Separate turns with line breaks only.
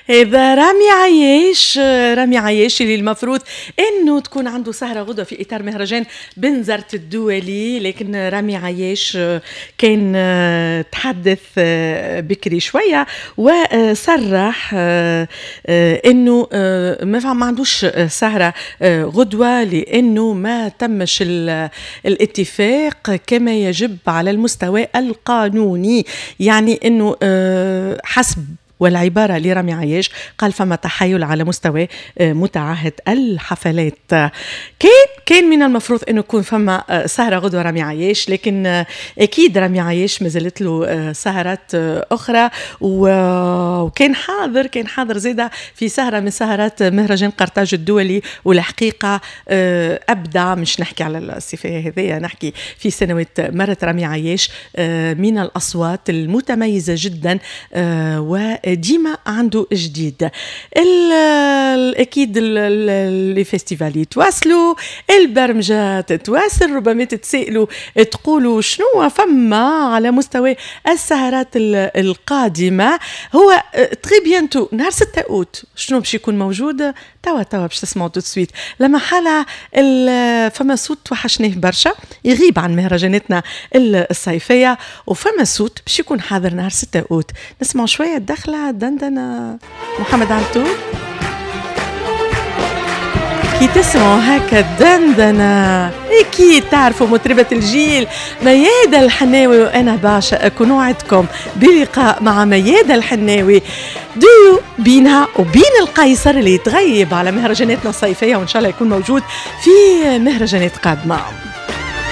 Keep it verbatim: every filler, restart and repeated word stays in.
هذا رامي عياش، رامي عياش اللي المفروض انه تكون عنده سهره غدوه في اطار مهرجان بنزرت الدولي، لكن رامي عياش كان تحدث بكري شوية وصرح انه ما عندوش سهره غدوه لانه ما تمش الاتفاق كما يجب على المستوى القانوني. يعني انه حسب والعبارة لرامي عياش قال فما تحايل على مستوى متعهد الحفلات. كان كان من المفروض انه يكون فما سهرة غدوة رامي عياش، لكن اكيد رامي عياش مازالت له سهرات اخرى، وكان حاضر كان حاضر زيادة في سهرة من سهرات مهرجان قرطاج الدولي، والحقيقة ابدع. مش نحكي على الصفة هذيا، نحكي في سنوات مرت رامي عياش من الاصوات المتميزة جدا و ديما عنده جديد. اكيد les festivals يتواصلوا، البرمجة تتواصل. ربما تتسائلوا تقولوا شنو فما على مستوى السهرات القادمة. هو très bientôt نهار ستة اوت شنو باش يكون موجود؟ توا توا باش تسمعوا tout de suite. لما حالة فما صوت توحشناه برشا يغيب عن مهرجاناتنا الصيفية، وفما صوت باش يكون حاضر نهار ستة اوت. نسمعوا شوية الدخلة دندنة محمد علتور. كي تسمعوا هكا الدندنة أكيد تعرفوا مطربة الجيل ميادة الحناوي، وأنا باشا أكون وعدكم بلقاء مع ميادة الحناوي، ديو بينها وبين القيصر اللي يتغيب على مهرجاناتنا الصيفية، وإن شاء الله يكون موجود في مهرجانات قادمة.